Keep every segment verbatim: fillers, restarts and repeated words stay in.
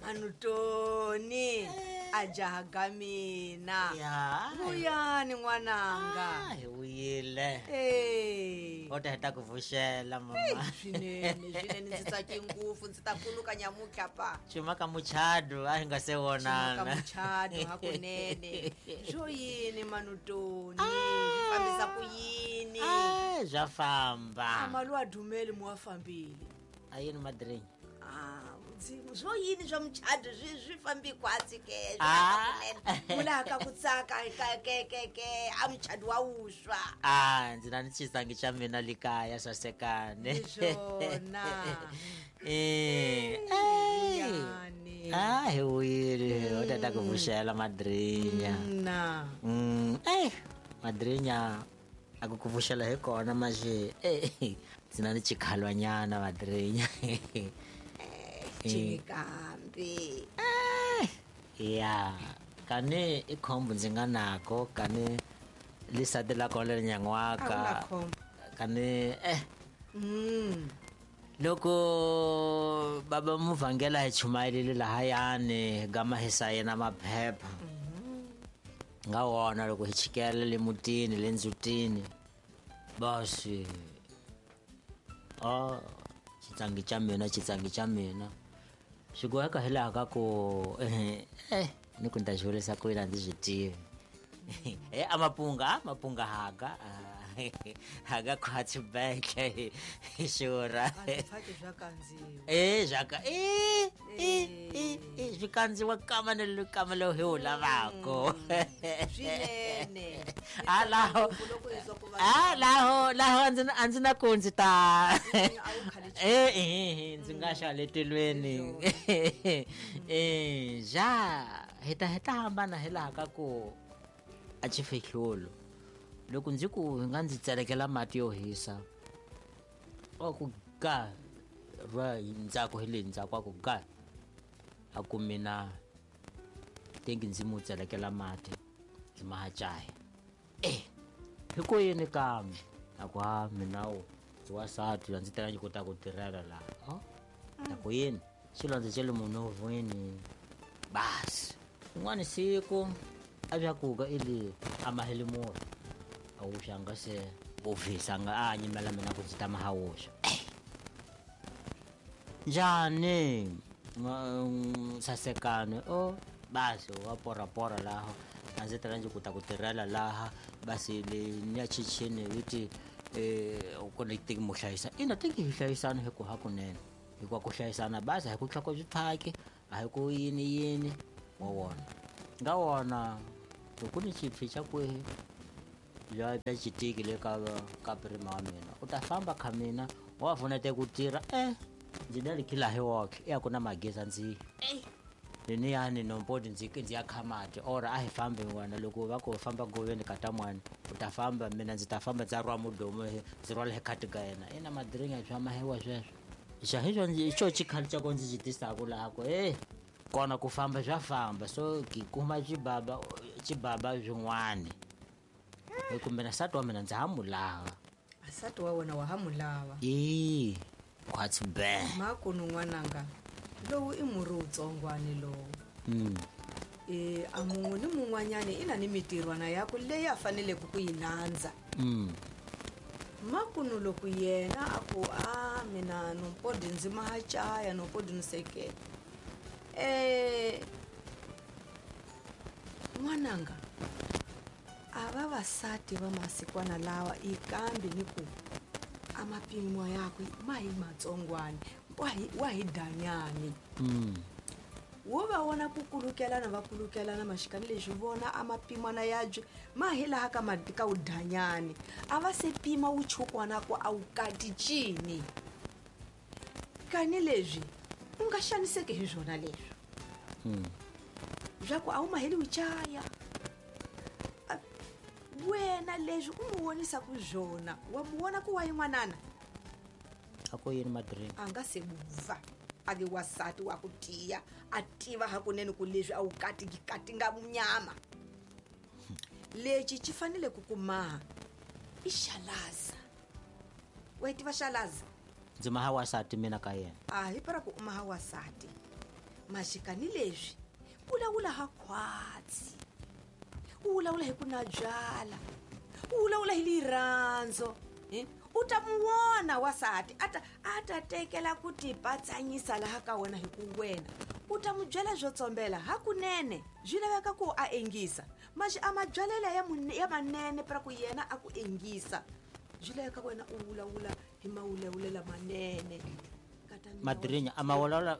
Manutoni a jaha ga mina. Ya. Vuyani n'wananga. Ah, hi vuyile. Eh. O ta heta ku vuxela mama. Swinene, swinene ndzi tsake ngopfu ndzi ta kuluka nyamutlha pa. Xuma ka muchado a hi nga se vonana. Xuma ka muchado hakunene. Swo yini Manutoni? Swi fambisa ku yini? Ah, swa famba. Amalu a dumeli mu wa fambile. A yini madrinyi? Ah, swo yini swa muchado swi swi fambi kwatsi ke Ah. mula ka ku tsaka ka ke ke ke a muchado wa wuswa. Ah, ndzi na ni xisangi xa mina likaya sasekane. Hi swona. Eh. Vuyani. Ah, hi vuyile. O ta ta ku vuxela madrinya. Na. Mm, eh, madrinya a ku ku vuxela hi kona manje. Eh, ndzi na ni chikhalwanyana madrinya. Chinikambi. Eh, ya, kani i khombo ndzi nga nako kani lisati la kona leri nyan'waka. A wu na khombo. Kani eh Mm. loko baba muvhangela hi chumayelile lahayani gama hi sayina maphepha. Nga wona loko hi chikela le mutini le ndzutini basi oh xitsangi xa mina xitsangi xa mina swi boheka hi laha ka ku eh ni ku ni ta xi vurisa ku yini a ndzi swi tivi. Eh a mapunga mapunga haga haga khwatsi beke hi xura. A swi pfaki swa kandziwa. Eh swa ka eh eh eh swi kandziwa kama ni le kama lowu hi wu lavako. Swinene. A laho Loko hi twa ku va a laho laho a ndzi na a ndzi na ku ndzi ta a wu khale eh eh ndzi nga xa le tilweni. Eh ja hi ta hi ta hambana hi laha ka ku a xi fihlolo. Loko ndzi ku hi nga ndzi tselekela mati yo hisa wa ku ga ra ndzhaku hi le ndzhaku wa ku ga a ku mina tengi ndzi mu tselekela mati ndzi ma caya. Eh hi ku yini kambe a ku ha mina wu ndzi wansati a ndzi tela ndzi kota ku tirhela laha. Oh a ku yini xilondza xa le munovhweni basi un'wana siku a swa kuka i le a maheli murhi a wuxa nga se vuvisa nga a nyimela mina ku ndzi ta ma ha wuxa. Njhani sasekane o basi wa porapora laha a ndzi tela ndzi kota ku tirhela laha basi le ni ya chichini viti eh ku ni tiki mo hlayisa ina tiki hi hlayisana hi ku hakunene hikuva ku hlayisana basi a hi ku tlhoko byi phaki a hi ku yini yini wa wona nga wona loko ni xipfi xa kwihi bya bya xitiki le ka ka prima wa mina u ta famba kha mina wa pfunete ku tirha eh ndzi na likhila hi woke ya ku na magezi ndzi ni ya ni nombodi ndzi ndzi ya kha mati or a hi fambi n'wana loko va ku famba goveni ka ta n'wana u ta famba mina ndzi ta famba ndza rhwa mudomo ndzi rhwala hi khati ka yena ina madiringa swa mahewa sweswo xa hi xo xo xikhali xa ko ndzi xi tisaka laha ku eh kona ku famba swa famba so ki kuma xibaba xibaba swin'wana hi kumbe na nsati wa mina ndzi ha mu lava. Nsati wa wena wa ha mu lava. E khwatsi be makunu n'wananga lowu i murhi wutsongwani lowu. Mm. Eh a mun'we ni mun'wanyani i na ni mitirhwana yakwe leyi a faneleke ku yi landza. Mm. Makunu loko yena a ku a mina nompodi ndzi maha caya nompodi ni sekela. Eh n'wananga a vavasati va masikwana lawa i kambi ni ku a mapimo yakwe ma hi matsongwani wa hi wa hi danyani. Mm. Wo va vona ku kulukelana va kulukelana maxikani leswi vona a mapimana ya byi ma hi laha ka mati ka wudanyani a va se pima wuchukwana ku a wu kati cini kani leswi u nga xaniseki hi swona leswi. Mm. Bya ku a wu maheli wuchaya wena leswi u mu vonisa ku swona wa mu vona ku wa yin'wanana a ku yini madrinki a nga se buva a vi wansati wa ku tiya a tiva hakunene ku leswi a wu katiki kati nga nyama lexi xi fanele ku kumaha i xalaza. Wa yi tiva xalaza? Ndzi maha wansati mina ka yena. A hi para ku u maha wansati Maxikani leswi vulavula ha khwatsi, u vulavula hi ku na byala, u vulavula hi lirhandzo, u ta mu vona wasati a ta a ta tekela ku tipatsanyisa laha ka wena hi ku wena u ta mu byela byo tsombela hakunene byi laveka ku a engisa maxi a mabyalela ya ya manene pra ku yena a ku engisa byi laveka wena u vulavula hi mawulawulela manene. Madrinya a mawulawula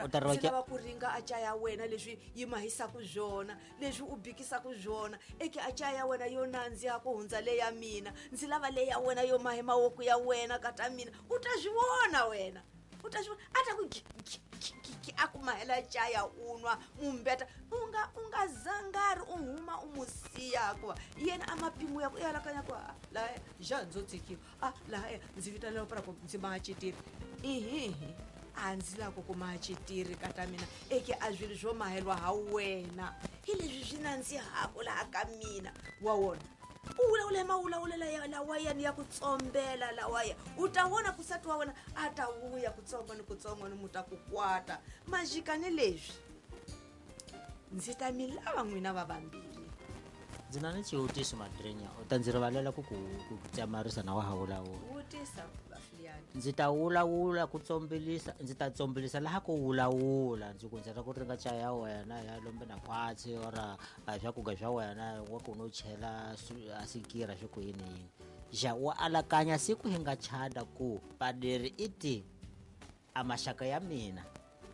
u ta ri lava ku ringa a caya wena leswi yi mahisaka byona leswi u bikisaka byona eke a caya wena yo nandziha ku hundza le ya mina ndzi lava le ya wena yo mahe mawoko ya wena kata mina u ta swi vona wena u ta swi vona a ta ku a ku mahela caya u nwa mumbeta u nga u nga zangari u huma u mu siya hikuva yena a mapimo ya ku i alakanya ku laha ja ndzo tsikiwa a laha ndzi vitanela pra ku ndzi maha citiri ihihi a ndzi lava ku kuma citiri kata mina eke a swilo swo mahelwa ha wena hi leswi swi nandzihaka laha ka mina wa wona u vulavula hi mawulawulela lawayani ya ku tsombela lawaya u ta vona kusati wa wena a ta vuya kutsongo ni kutsongo ni mu ta ku kwata majikani leswi ndzi ta mi lava n'wina va vambirhi. Ndzi na ni xivutiso Madrinya u ta ndzi rivalela ku ku ku tsamarisa na wa ha vulavula. Vutisa Bafiliani. Ndzi ta vulavula ku tsombelisa ndzi ta tsombelisa laha ku vulavula ndzi ku ndzi ra ku ringa chaya ya wena ya lombe na khwatsi ora a swakudya swa wena wa ku no chela a sikira swi ku yini yini ja wa alakanya siku hi nga chada ku paderi i ti a maxaka ya mina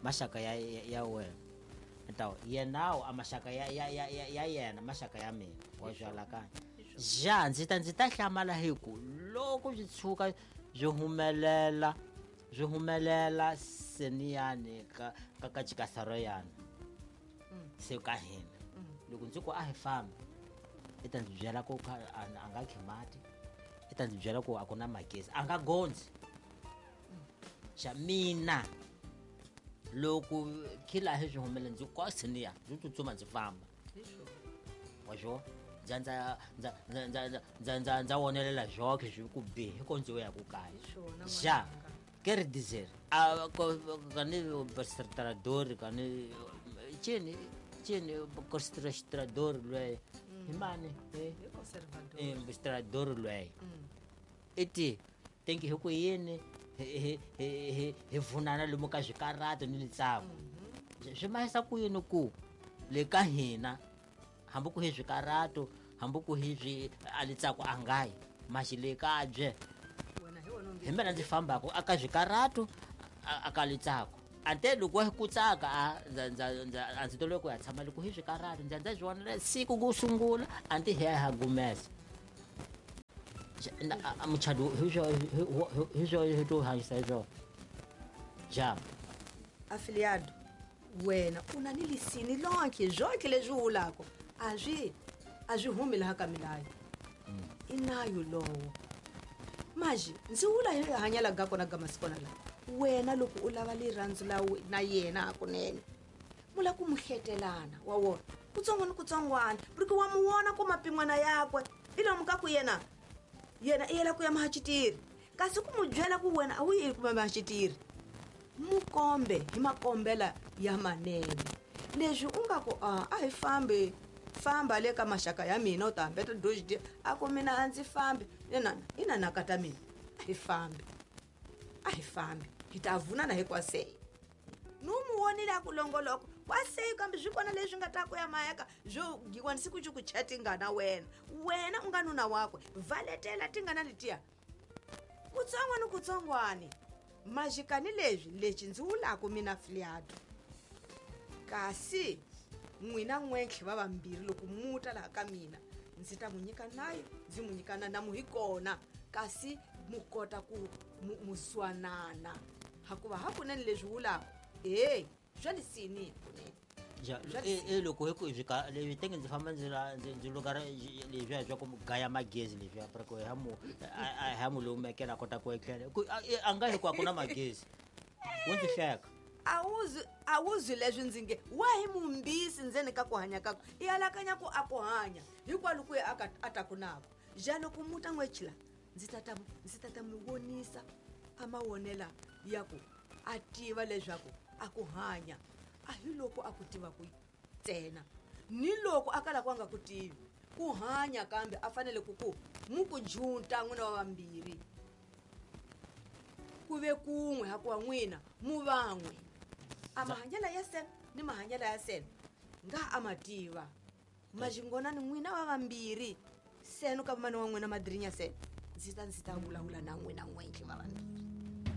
maxaka ya ya wena ntawo yenawo a maxaka ya ya ya ya yena maxaka ya mina wa swi alakanya ja ndzi ta ndzi ta hlamala hi ku loko swi tshuka byi humelela byi humelela seniyani ka ka ka chikasaro yana se ka hina loko ndzi ku a hi fambi i ta ndzi byela ku a nga khi mati i ta ndzi byela ku a ku na magezi a nga gondzi xa mina loko khila hi swi humelela ndzi ku seniya ndzi tsutsuma ndzi famba wa swo ndza ndza ndza ndza ndza ndza ndza wonelela zwoke swi ku bihi ko ndzi ya ku kaya ja ke dizer a kani bastrador kani chini chini constrador lwe himani eh conservador bastrador lwe iti tenki hi ku yini hi hi hi vunana lomu ka swikarhato ni litsako swi mahisa ku yini ku le ka hina hambi ku hi swikarhato hambi ku hi swi a litsako a ngayi maxi le ka bye hi mina ndzi fambaka aka swikarhato aka litsako ante loko hi ku tsaka a ndza ndza ndza a ndzi tolwe ku ya tshama loko hi swikarhato ndza ndza swi vona siku ku sungula anti hi ya ha gumesa muchado hi swo hi swo hi to hanyisa hi swona ja afiliado wena u na ni lisini lonke zonke leswi vulaka a swi a swi humi laha ka milayo i nayo lowo maji ndzi vula hi hanyela ga kona ga masikona la wena loko u lava lirhandzu la na yena hakunene mu la ku mu hletelana wa wona kutsongo ni kutsongwana porque wa mu vona ku mapin'wana yakwe i lomu ka ku yena yena i yela ku ya mahacitiri kasi ku mu byela ku wena a wu yi kuma mahacitiri mu kombe hi makombela ya manene leswi u nga ku a a hi fambi famba le ka maxaka ya mina u ta hambeta dojidi a ku mina a ndzi fambi inana inanaka ta mina a hi fambi a hi fambi hi ta vunana hikwasei ni u mu vonile a ku longoloko kwasei kambe swi kona leswi nga ta ku ya mayaka swo giwani siku xi ku cha tingana wena wena u nga nuna wakwe valetela tingana letiya kutsongo ni kutsongwani majikani leswi lexi ndzi wulaku mina filiado kasi n'wina n'wentlhe va vambirhi loko muta laha ka mina ndzi ta mu nyika nayo ndzi mu nyika na namu hi kona kasi mu kota ku mu swanana hakuva hakunene leswi wulaku e swa lisini kunene ja e loko hi ku swi leswi tenge ndzi famba ndzi ndzi ndzi luka leswiya swa ku gaya magezi leswiya ku ha mu ha mu lumekela a kota ku etlela ku a nga hi ku a ku na magezi wo ndzi hleka a wu a wu zwi leswi ndzi nge wa hi mumbisi ndzeni ka ku hanya kaku i alakanya ku a ku hanya hikwalo ku ya a ta ku nako ja loko muta n'wechila ndzi ta ndzi ta ta mi vonisa a mawonela ya ku a tiva leswaku a ku hanya A hi loko a ku tiva ku ntsena ni loko a kala ku a nga ku tivi ku hanya kambe a fanele ku ku mu ku junta n'wina wa vambirhi ku ve kun'we hakuwa n'wina mu van'we a mahanyela ya sena ni mahanyela ya sena nga a ma tiva majingonani n'wina wa vambirhi seno ka vamani wa n'wina madirinya sena ndzi ta ndzi ta vulavula na n'wina n'wentlhe va vambirhi.